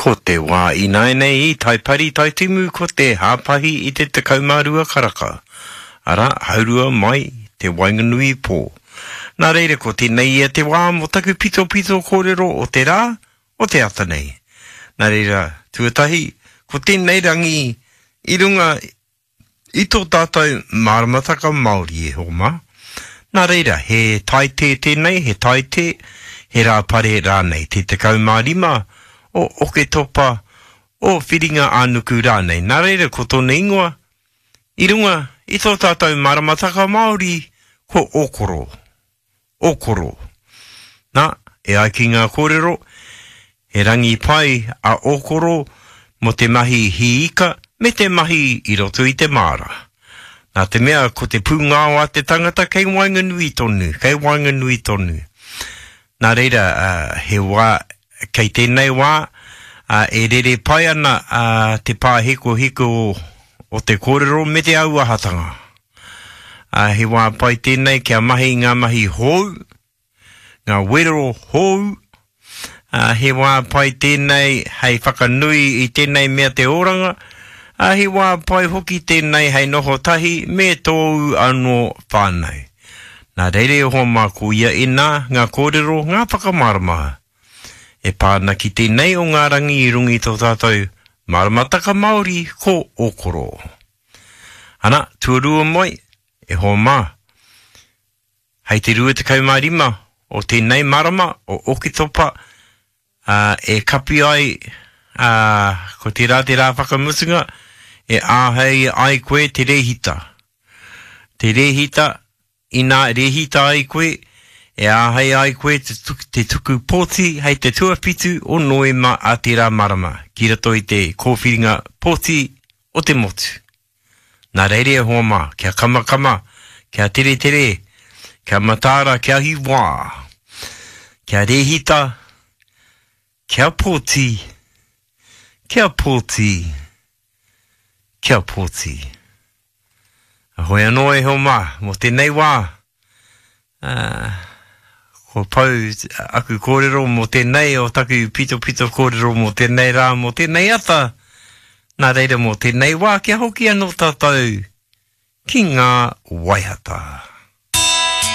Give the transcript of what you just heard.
Ko te wā ināianei i Taipari Taitimu ko te hāpahi i te 12 karaka, arā, haurua mai te waenganui pō. Nā reira ko tēnei ia te wā mō taku pitopito kōrero o te rā, o te ata nei. Nā reira, tuatahi, ko tēnei rangi i runga i tō tātou māramataka Māori e hoa mā. Nā reira, he taite tēnei, he taite, he rāpare rānei, te 15 o Oketopa, o Whiringa-ā-nuku rānei. Nā reira, ko tōna ingoa, i runga i tō tātou māramataka Māori, ko Ōkoro. Ōkoro. Nā, e ai ki ngā kōrero, he rangi pai a Ōkoro mō te mahi hī ika me te mahi i roto i te māra. Nā te mea ko te pūngao a te tangata kei waenganui tonu, kei waenganui tonu. Nā reira, he wā, kei tēnei wā, e rere pai ana te pāhekoheko o te kōrero me te auahatanga. Ā, he wā pai tēnei kia mahi i ngā mahi hou, ngā wero hou. Ā, he wā pai tēnei hei whakanui i tēnei mea te oranga, ā, he wā pai hoki tēnei hei noho tahi me tōu anō whānau. Nā reira e hoa mā ko ia ēnā ngā kōrero, ngā whakamārama e pā ana ki tēnei o ngā rangi i runga i tō tātou maramataka Māori ko Ōkoro. Ana, tuarua mai, e hoa mā, hei te 25 o tēnei marama o Oketopa, ā, e kapi ai, ā, ko tērā te rā whakamutunga, e āhei ai koe te rēhita. Te rēhita, Inā rēhita ai koe, e āhei ai koe te tuku pōti hei te tuawhitu o Noema a tērā marama ki roto i te kōwhiringa pōti o te motu. Nā reira e hoa mā, kia kamakama, kia teretere, kia mataara, kia hiwā, kia rēhita, kia pōti, kia pōti, kia pōti. Hoi anō e hoa mā, mō tēnei wā, ā, kua pau aku kōrero mō tēnei o taku pitopito kōrero mō tēnei rā, mō tēnei ata, nā reira mō tēnei wā kia hoki anō tātou ki ngā waiata.